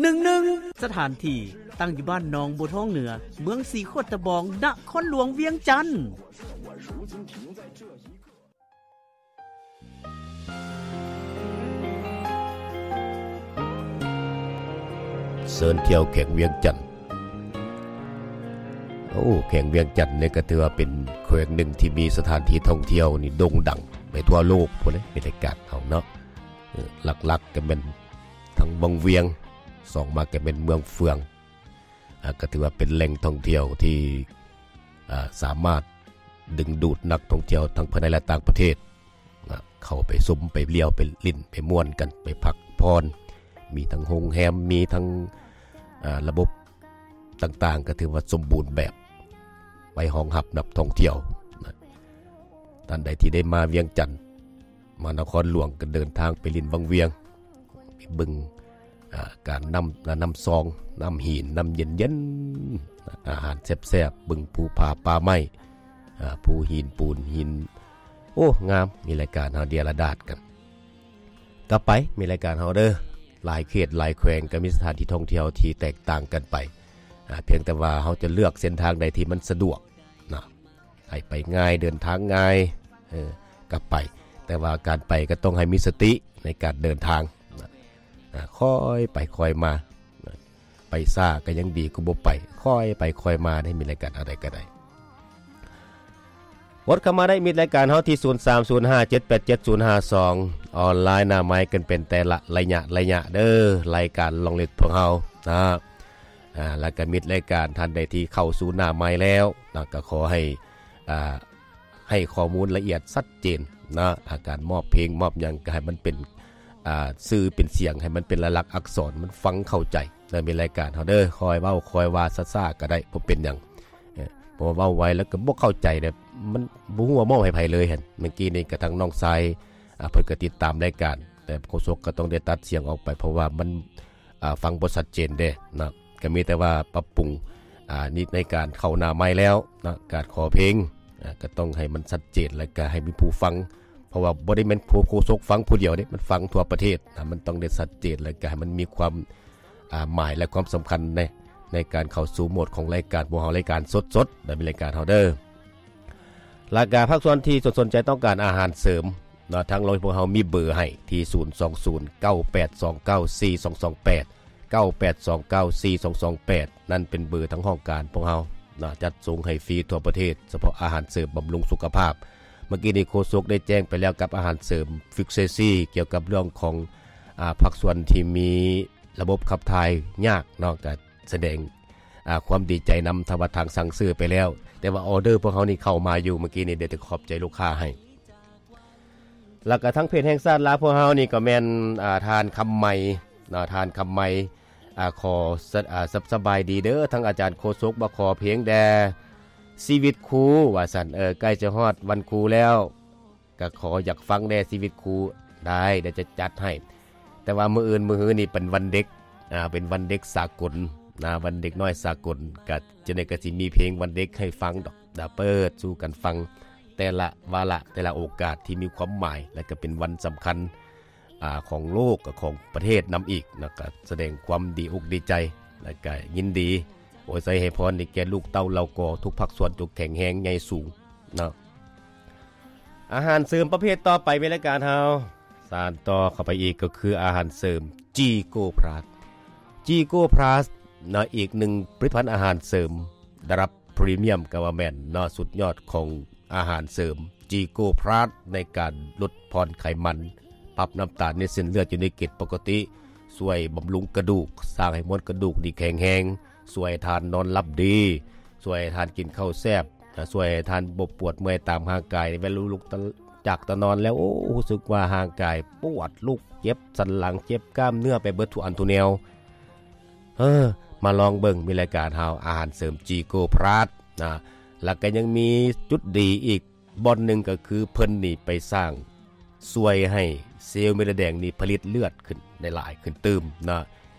ໜຶ່ງໜຶ່ງ ສະຖານທີ່ຕັ້ງຢູ່ບ້ານໜອງບົວທອງເໜືອ ເມືອງສີໂຄດຕະບອງ ນະຄອນຫຼວງວຽງຈັນ. ເຊີນທ່ຽວແຂວງວຽງຈັນ. ໂອ້ ແຂວງວຽງຈັນນີ້ກໍຖືວ່າເປັນແຂວງໜຶ່ງທີ່ມີສະຖານທີ່ທ່ອງທ່ຽວນີ້ໂດ່ງດັງໄປທົ່ວໂລກພຸ້ນເດ້ ໃນລາຍການເຮົາເນາະ. ເອີ ຫຼັກໆກໍແມ່ນທັງວັງວຽງ ສອງມາກໍແມ່ນເມືອງເຟືອງ. ອ່າ ກໍຖືວ່າເປັນແຫຼ່ງທ່ອງທ່ຽວທີ່ ອ່າ ສາມາດດຶງດູດນັກທ່ອງທ່ຽວທັງພາຍໃນ ແລະ ຕ່າງປະເທດ ນະ ເຂົ້າໄປຊົມ ໄປທ່ຽວ ໄປຫຼິ້ນ ໄປມ່ວນກັນ ໄປພັກຜ່ອນ. ມີທັງໂຮງແຮມ ມີທັງ ອ່າ ລະບົບຕ່າງໆ ກໍຖືວ່າສົມບູນແບບ ໄວ້ຮອງຮັບນັກທ່ອງທ່ຽວນະ. ທ່ານໃດທີ່ໄດ້ມາວຽງຈັນ ມານະຄອນຫຼວງ ກໍເດີນທາງໄປຫຼິ້ນວັງວຽງ ໄປເບິ່ງ ອ່າ ການນ້ຳ ນ້ຳຊອງ ນ້ຳຫີນ ນ້ຳເຢັນໆ ອາຫານແຊບໆ ເບິ່ງພູຜາປ່າໄມ້ ອ່າ ພູຫີນ ປູນຫີນ ໂອ້ ງາມ. ມີລາຍການເຮົາເດຍລະດາດກັນ ກັບໄປ ມີລາຍການເຮົາເດີ. ຫຼາຍເຂດຫຼາຍແຂວງກໍມີສະຖານທີ່ທ່ອງທ່ຽວທີ່ແຕກຕ່າງກັນໄປ ອ່າ ພຽງແຕ່ວ່າເຮົາຈະເລືອກເສັ້ນທາງໃດທີ່ມັນສະດວກນະ ໃຫ້ໄປງ່າຍ ເດີນທາງງ່າຍ ເອີ ກໍໄປ. ແຕ່ວ່າການໄປກໍຕ້ອງໃຫ້ມີສະຕິໃນການເດີນທາງນະ. ອ່າ ຄ່ອຍໄປຄ່ອຍມານະ. ໄປຊ້າກໍຍັງດີກວ່າບໍ່ໄປ. ຄ່ອຍໄປຄ່ອຍມາໄດ້ ມີລາຍການເຮົາໃດກໍໄດ້. ກົດເຂົ້າມາໄດ້ ມິດລາຍການເຮົາທີ່ ສູນສາມສູນຫ້າເຈັດແປດເຈັດສູນຫ້າສອງ ອອນລາຍໜ້າໄມກັນເປັນແຕ່ລະໄລຍະໄລຍະເດີ ລາຍການລອງລິດພວກເຮົານະ. ອ່າ ແລ້ວກໍມິດລາຍການທ່ານໃດທີ່ເຂົ້າສູ່ໜ້າໄມແລ້ວນະ ກໍຂໍໃຫ້ ອ່າ ໃຫ້ຂໍ້ມູນລະອຽດຊັດເຈນນະ. ອາ ການມອບເພງມອບຫຍັງກໍໃຫ້ມັນເປັນ ອ່າ ຊື່ເປັນສຽງ ໃຫ້ມັນເປັນລາຍລັກອັກສອນ ມັນຟັງເຂົ້າໃຈ. ແລ້ວມີລາຍການເຮົາເດີ ຄ່ອຍເວົ້າຄ່ອຍວ່າ ຊ້າໆກໍໄດ້ ບໍ່ເປັນຫຍັງ. ເອີ ເພາະວ່າເວົ້າໄວແລ້ວກໍບໍ່ເຂົ້າໃຈເດ້ ມັນບໍ່ຮູ້ວ່າມອບໃຫ້ໃຜເລີຍຫັ້ນ. ເມື່ອກີ້ນີ້ກໍທາງນ້ອງຊາຍ ອ່າ ເພິ່ນກໍຕິດຕາມລາຍການ ແຕ່ໂຄສົກກໍຕ້ອງໄດ້ຕັດສຽງອອກໄປ ເພາະວ່າມັນ ອ່າ ຟັງບໍ່ຊັດເຈນເດ້ນະ. ກໍມີແຕ່ວ່າປັບປຸງ ອ່າ ນິດໃນການເຂົ້າໜ້າໄມແລ້ວນະ ການຂໍເພງ ອ່າ ກໍຕ້ອງໃຫ້ມັນຊັດເຈນ ແລ້ວກໍໃຫ້ມີຜູ້ຟັງ ເພາະວ່າບໍ່ໄດ້ແມ່ນຜູ້ໂຄສົກຟັງຜູ້ດຽວເດ້ ມັນຟັງທົ່ວປະເທດນະ. ມັນຕ້ອງໄດ້ຊັດເຈນ ແລ້ວກໍໃຫ້ມັນມີຄວາມ ອ່າ ໝາຍ ແລະ ຄວາມສຳຄັນໃນ ໃນການເຂົ້າສູ່ໂໝດຂອງລາຍການພວກເຮົາ ລາຍການສົດໆ ແລະ ເປັນລາຍການເຮົາເດີ. ແລ້ວກໍພາກສ່ວນທີ່ສົນໃຈຕ້ອງການອາຫານເສີມເນາະ ທາງໂຮງພວກເຮົາມີເບີໃຫ້ທີ່ ສູນສອງສູນເກົ້າແປດສອງເກົ້າສີ່ສອງສອງແປດ ເກົ້າແປດສອງເກົ້າສີ່ສອງສອງແປດ ນັ້ນເປັນເບີທາງຫ້ອງການພວກເຮົາເນາະ ຈັດສົ່ງໃຫ້ຟຣີທົ່ວປະເທດ ສະເພາະອາຫານເສີມບຳລຸງສຸຂະພາບ. ເມື່ອກີ້ນີ້ໂຄສົກໄດ້ແຈ້ງໄປແລ້ວກັບອາຫານເສີມ Fix Sexy ກ່ຽວກັບເລື່ອງຂອງ ອ່າ ພາກສ່ວນທີ່ມີລະບົບຂັບຖ່າຍຍາກເນາະ ກໍສະແດງ ອ່າ ຄວາມດີໃຈນຳ ຖ້າວ່າທາງສັ່ງຊື້ໄປແລ້ວ ແຕ່ວ່າອໍເດີພວກເຮົານີ້ເຂົ້າມາຢູ່ ເມື່ອກີ້ນີ້ໄດ້ແຕ່ຂອບໃຈລູກຄ້າໃຫ້. ແລ້ວກໍທາງເພຈແຫ່ງຊາດລາວພວກເຮົານີ້ກໍແມ່ນ ອ່າ ທ່ານຄຳໄມເນາະ ທ່ານຄຳໄມ ອ່າ ຂໍສະ ອ່າ ສະ ສະບາຍດີເດີ ທາງອາຈານໂຄສົກ ມາຂໍເພງແດ່ ຊີວິດຄູ ວ່າຊັ້ນ. ເອີ ໃກ້ຈະຮອດວັນຄູແລ້ວ ກໍຂໍຢາກຟັງແດ່ຊີວິດຄູ. ໄດ້ ດຽວຈະຈັດໃຫ້ ແຕ່ວ່າມື້ອື່ນມື້ຮືນີ້ເປັນວັນເດັກ ອ່າ ເປັນວັນເດັກສາກົນນະ ວັນເດັກນ້ອຍສາກົນ ກໍຈັ່ງໃດກໍຊິມີເພງວັນເດັກໃຫ້ຟັງດອກນະ ເປີດສູ່ກັນຟັງ ແຕ່ລະວາລະ ແຕ່ລະໂອກາດທີ່ມີຄວາມໝາຍ ແລະ ກໍເປັນວັນສຳຄັນ ອ່າ ຂອງໂລກ ຂອງປະເທດນຳອີກນະ ກໍສະແດງຄວາມດີອົກດີໃຈ ແລະ ກໍຍິນດີອວຍໄຊໃຫ້ພອນນີ້ແກ່ລູກເຕົ້າເຫຼົ່າກໍທຸກພາກສ່ວນ ຈົ່ງແຂງແຮງໃຫຍ່ສູງເນາະ. ອາຫານເສີມປະເພດຕໍ່ໄປໃນລາຍການເຮົາ ສານຕໍ່ເຂົ້າໄປອີກກໍຄືອາຫານເສີມ G Gold Plus. G Gold Plus ເນາະ ອີກໜຶ່ງຜະລິດຕະພັນອາຫານເສີມລະດັບພຣີມຽມກໍວ່າແມ່ນເນາະ ສຸດຍອດຂອງອາຫານເສີມ G Gold Plus ໃນການຫຼຸດຜ່ອນໄຂມັນ, ປັບນ້ຳຕານໃນເສັ້ນເລືອດຢູ່ໃນເກນປົກກະຕິ, ຊ່ວຍບຳລຸງກະດູກ, ສ້າງໃຫ້ມວນກະດູກນີ້ແຂງແຮງ, ຊ່ວຍໃຫ້ທ່ານນອນຫຼັບດີ, ຊ່ວຍໃຫ້ທ່ານກິນເຂົ້າແຊບ, ຊ່ວຍໃຫ້ທ່ານບໍ່ປວດເມື່ອຍຕາມຮ່າງກາຍ. ເວລາລຸກຈາກຕານອນແລ້ວ ໂອ້ ຮູ້ສຶກວ່າຮ່າງກາຍປວດ, ລຸກເຈັບ, ສັນຫຼັງເຈັບ, ກ້າມເນື້ອໄປເບິດທຸກອັນທຸກແນວ. ເອີ ມາລອງເບິ່ງ, ມີລາຍການເຮົາ ອາຫານເສີມ G Gold Plus ນະ. ແລ້ວກໍຍັງມີຈຸດດີອີກບ່ອນໜຶ່ງ ກໍຄືເພິ່ນນີ້ໄປສ້າງ ຊ່ວຍໃຫ້ເຊວເມັດແດງນີ້ຜະລິດເລືອດຂຶ້ນໄດ້ຫຼາຍຂຶ້ນຕື່ມເນາະ.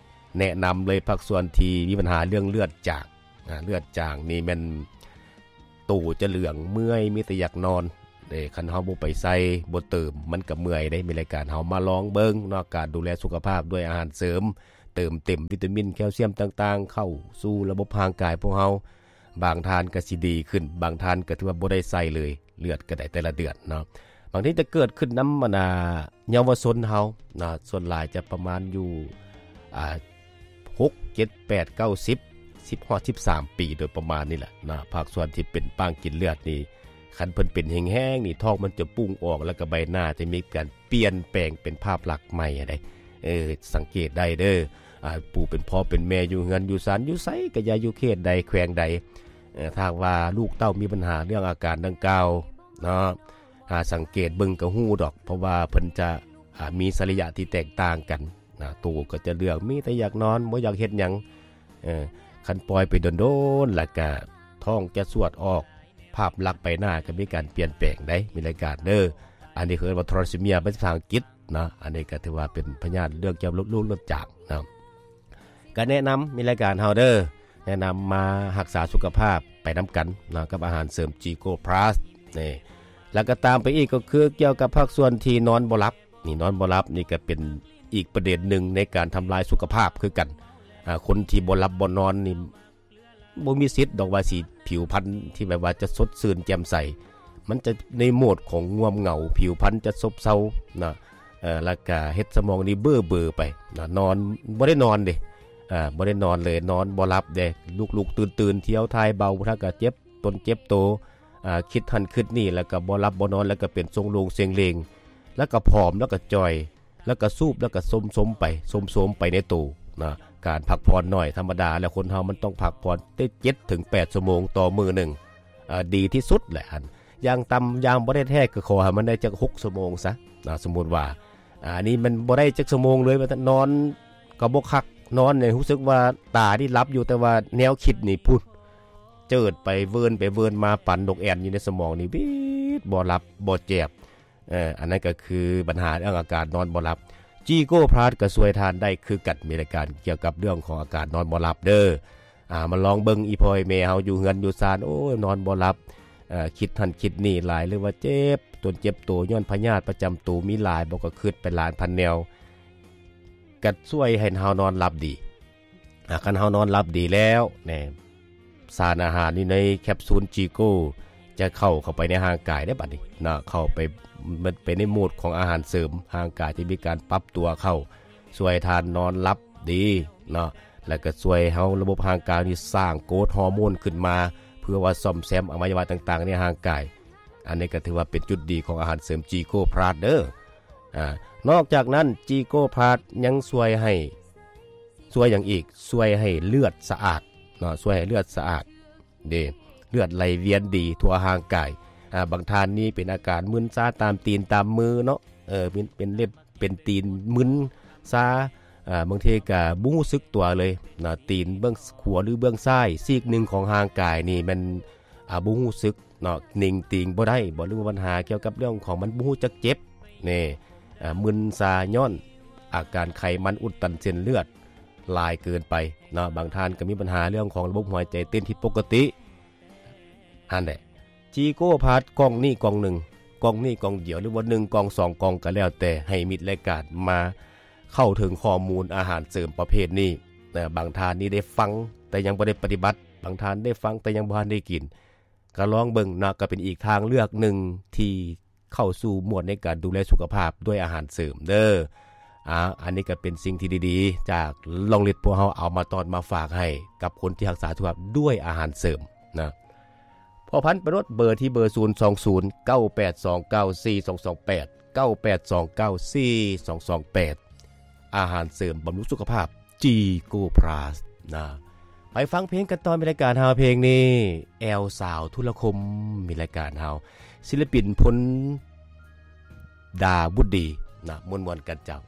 ແນະນຳເລີຍ ພາກສ່ວນທີ່ມີບັນຫາເລື່ອງເລືອດຈາງນະ, ເລືອດຈາງນີ້ແມ່ນໂຕຈະເຫຼືອງ, ເມື່ອຍ, ມີແຕ່ຢາກນອນເດ້. ຄັນເຮົາບໍ່ໄປໃສ່, ບໍ່ເຕີມ, ມັນກໍເມື່ອຍເດ້. ມີລາຍການເຮົາມາລອງເບິ່ງເນາະ, ການດູແລສຸຂະພາບດ້ວຍອາຫານເສີມ ເຕີມເຕັມວິຕາມິນແຄວຊຽມຕ່າງໆ ເຂົ້າສູ່ລະບົບຮ່າງກາຍພວກເຮົາ. ບາງທ່ານກໍຊິດີຂຶ້ນ, ບາງທ່ານກໍຖືວ່າບໍ່ໄດ້ໃສ່ເລີຍ, ເລືອດກໍໄດ້ແຕ່ລະເດືອນເນາະ. ບາງທີຈະເກີດຂຶ້ນນຳ ອັນນ່າ ເຍົາວະຊົນເຮົານະ, ສ່ວນຫຼາຍຈະປະມານຢູ່ ອ່າ ຫົກ ເຈັດ ແປດ ເກົ້າ ສິບ ສິບຮອດສິບສາມປີໂດຍປະມານນີ້ແຫຼະນະ. ພາກສ່ວນທີ່ເປັນປາງກິນເລືອດນີ້ ຄັນເພິ່ນເປັນແຮງໆນີ້ ທ້ອງມັນຈະປຸ້ງອອກ ແລ້ວກໍໃບໜ້າຈະມີການປ່ຽນແປງເປັນພາບລັກໃໝ່ໃດ໋. ເອີ ສັງເກດໄດ້ເດີ ອ່າ ຜູ້ເປັນພໍ່ເປັນແມ່ຢູ່ເຮືອນຢູ່ຊານ ຢູ່ໃສກໍຢ່າ ຢູ່ເຂດໃດແຂວງໃດ ເອີ ຖ້າຫາກວ່າລູກເຕົ້າມີບັນຫາເລື່ອງອາການດັ່ງກ່າວເນາະ ຫາສັງເກດເບິ່ງກໍຮູ້ດອກ ເພາະວ່າເພິ່ນຈະ ອ່າ ມີສະລິຍະທີ່ແຕກຕ່າງກັນນະ. ໂຕກໍຈະເລື່ອງ ມີແຕ່ຢາກນອນ ບໍ່ຢາກເຮັດຫຍັງ. ເອີ ຄັນປ່ອຍໄປດົນໆ ແລ້ວກະທ້ອງຈະສວດອອກ ພາບລັກໃບໜ້າກໍມີການປ່ຽນແປງໄດ໋ ມີລາຍການເດີ. ອັນນີ້ເອີ້ນວ່າ thalassemia ເປັນພາສາອັງກິດເນາະ. ອັນນີ້ກໍຖືວ່າເປັນພະຍາດເລື່ອງກ່ຽວກັບໂລກເລືອດຈາງເນາະ. ກໍແນະນຳ ມີລາຍການເຮົາເດີ ແນະນຳມາຮັກສາສຸຂະພາບໄປນຳກັນເນາະ ກັບອາຫານເສີມ Ginkgo Plus ນີ້. ແລ້ວກໍຕາມໄປອີກກໍຄືກ່ຽວກັບພາກສ່ວນທີ່ນອນບໍ່ຫຼັບ. ນີ້ ນອນບໍ່ຫຼັບນີ້ກໍເປັນອີກປະເດັນໜຶ່ງໃນການທຳລາຍສຸຂະພາບຄືກັນ. ອ່າ ຄົນທີ່ບໍ່ຫຼັບບໍ່ນອນນີ້ ບໍ່ມີສິດດອກວ່າຊິຜິວພັນທີ່ແບບວ່າຈະສົດຊື່ນແຈ່ມໃສ, ມັນຈະໃນໂໝດຂອງງ່ວມເຫງົາ, ຜິວພັນຈະຊົບເຊົານະ, ເອີ ແລ້ວກະເຮັດສະໝອງນີ້ເບີໆໄປນະ, ນອນ ບໍ່ໄດ້ນອນເດ້ ອ່າ ບໍ່ໄດ້ນອນເລີຍ, ນອນບໍ່ຫຼັບເດ້, ລຸກໆຕື່ນໆ ທ່ຽວຖ່າຍເບົາ, ບາງເທື່ອກະເຈັບຕົນເຈັບໂຕ, ອ່າ ຄິດຫັ້ນຄິດນີ້, ແລ້ວກະບໍ່ຫຼັບບໍ່ນອນ, ແລ້ວກະເປັນຊົງໂລງເຊັງເລັງ, ແລ້ວກະຜອມ, ແລ້ວກະຈ່ອຍ. ແລ້ວກໍສູບ ແລ້ວກໍໂຊມໆໄປ ໂຊມໆໄປໃນໂຕນະ. ການພັກຜ່ອນໜ້ອຍທຳມະດາ ແລ້ວຄົນເຮົາມັນຕ້ອງພັກຜ່ອນແຕ່ເຈັດເຖິງແປດຊົ່ວໂມງຕໍ່ມື້ໜຶ່ງ ເອີ ດີທີ່ສຸດແຫຼະ. ອັນຢ່າງຕ່ຳ ຢ່າງບໍ່ໄດ້ແທ້ກໍຂໍໃຫ້ມັນໄດ້ຈັກຫົກຊົ່ວໂມງຊະນະ. ສົມມຸດວ່າ ອ່າ ອັນນີ້ມັນບໍ່ໄດ້ຈັກຊົ່ວໂມງເລີຍ ວ່ານອນກໍບໍ່ຄັກ, ນອນນີ້ຮູ້ສຶກວ່າຕານີ້ຫຼັບຢູ່ ແຕ່ວ່າແນວຄິດນີ້ພຸ້ນ ເຈີດໄປເວີນໄປເວີນມາ ປັນນົກແອ່ນຢູ່ໃນສະໝອງນີ້ ວິດ ບໍ່ຫຼັບບໍ່ແຈບ. ເອີ ອັນນັ້ນກໍຄືບັນຫາເລື່ອງອາການນອນບໍ່ຫຼັບ. Ginkgo Plus ກໍຊ່ວຍທ່ານໄດ້ຄືກັນ, ມີລາຍການກ່ຽວກັບເລື່ອງຂອງອາການນອນບໍ່ຫຼັບເດີ. ອ່າ ມາລອງເບິ່ງ ອີ່ພໍ່ອີ່ແມ່ເຮົາຢູ່ເຮືອນຢູ່ຊານ ໂອ້ຍ ນອນບໍ່ຫຼັບ, ເອີ ຄິດຫັ້ນຄິດນີ້ຫຼາຍ ຫຼືວ່າເຈັບຕົນເຈັບໂຕຍ້ອນພະຍາດປະຈຳໂຕມີຫຼາຍ, ບໍ່ກໍຄິດໄປລ້ານພັນແນວ, ກໍຊ່ວຍໃຫ້ເຮົານອນຫຼັບດີ. ອ່າ ຄັນເຮົານອນຫຼັບດີແລ້ວແນ່ ສານອາຫານຢູ່ໃນແຄບຊູນ Ginkgo ຈະເຂົ້າ ເຂົ້າໄປໃນຮ່າງກາຍເດ້ ບັດນີ້ນະ, ເຂົ້າໄປ ມັນໄປໃນໂໝດຂອງອາຫານເສີມ, ຮ່າງກາຍຈະມີການປັບຕົວເຂົ້າ, ຊ່ວຍທ່ານນອນຫຼັບດີເນາະ, ແລ້ວກໍຊ່ວຍເຮົາ ລະບົບຮ່າງກາຍນີ້ສ້າງໂກຣດຮໍໂມນຂຶ້ນມາ ເພື່ອວ່າສ້ອມແຊມອະໄວຍະວະຕ່າງໆໃນຮ່າງກາຍ. ອັນນີ້ກໍຖືວ່າເປັນຈຸດດີຂອງອາຫານເສີມ Ginkgo Plus ເດີ. ອ່າ ນອກຈາກນັ້ນ Ginkgo Plus ຍັງຊ່ວຍໃຫ້ ຊ່ວຍຫຍັງອີກ? ຊ່ວຍໃຫ້ເລືອດສະອາດເນາະ, ຊ່ວຍໃຫ້ເລືອດສະອາດເດ້, ເລືອດໄຫຼວຽນດີທົ່ວຮ່າງກາຍ. ອ່າ ບາງທ່ານນີ້ເປັນອາການມຶນຊາຕາມຕີນຕາມມືເນາະ, ເອີ ເປັນ ເປັນເລັບເປັນຕີນມຶນຊາ, ອ່າ ບາງທີກໍບໍ່ຮູ້ສຶກຕົວເລີຍນະ, ຕີນເບື້ອງຂວາ ຫຼື ເບື້ອງຊ້າຍ ຊີກໜຶ່ງຂອງຮ່າງກາຍນີ້ມັນ ອ່າ ບໍ່ຮູ້ສຶກ ເນາະ, ເໜັງຕີງບໍ່ໄດ້ບໍ ຫຼືວ່າບັນຫາກ່ຽວກັບເລື່ອງຂອງມັນບໍ່ຮູ້ຈັກເຈັບແນ່, ອ່າ ມຶນຊາຍ້ອນອາການໄຂມັນອຸດຕັນເສັ້ນເລືອດຫຼາຍເກີນໄປເນາະ, ບາງທ່ານກໍມີບັນຫາເລື່ອງຂອງລະບົບຫົວໃຈເຕັ້ນຜິດປົກກະຕິ. ຫັ້ນແຫຼະ Ginkgo Plus ກ່ອງນີ້ກ່ອງໜຶ່ງ, ກ່ອງນີ້ກ່ອງດຽວ ຫຼືວ່າໜຶ່ງກ່ອງສອງກ່ອງກໍແລ້ວແຕ່, ໃຫ້ມິດລາຍການມາເຂົ້າເຖິງຂໍ້ມູນອາຫານເສີມປະເພດນີ້ນະ. ບາງທ່ານນີ້ໄດ້ຟັງແຕ່ຍັງບໍ່ໄດ້ປະຕິບັດ, ບາງທ່ານໄດ້ຟັງແຕ່ຍັງບໍ່ທັນໄດ້ກິນ. ກໍລອງເບິ່ງເນາະ, ກໍເປັນອີກທາງເລືອກໜຶ່ງທີ່ເຂົ້າສູ່ໝວດໃນການດູແລສຸຂະພາບດ້ວຍອາຫານເສີມເດີ. ອ່າ ອັນນີ້ກໍເປັນສິ່ງທີ່ດີໆ ຈາກລອງລິດພວກເຮົາເອົາມາຕ້ອນມາຝາກໃຫ້ກັບຄົນທີ່ຮັກສາສຸຂະພາບດ້ວຍອາຫານເສີມນະ. ພໍ່ພັນໄປໂລດເບີທີ່ເບີ ສູນສອງສູນ ເກົ້າແປດສອງເກົ້າ ສີ່ສອງສອງແປດ ເກົ້າແປດສອງເກົ້າ ສີ່ສອງສອງແປດ. ອາຫານເສີມບຳລຸງສຸຂະພາບ Ginkgo Plus ນະ. ໄປຟັງເພງກັນຕໍ່ ໃນລາຍການເຮົາ. ເພງນີ້ ແອວສາວທຸລະຄົມ ມີລາຍການເຮົາ, ສິລະປິນ ພົນດາບຸດດີນະ, ມ່ວນໆກັນເຈົ້າ.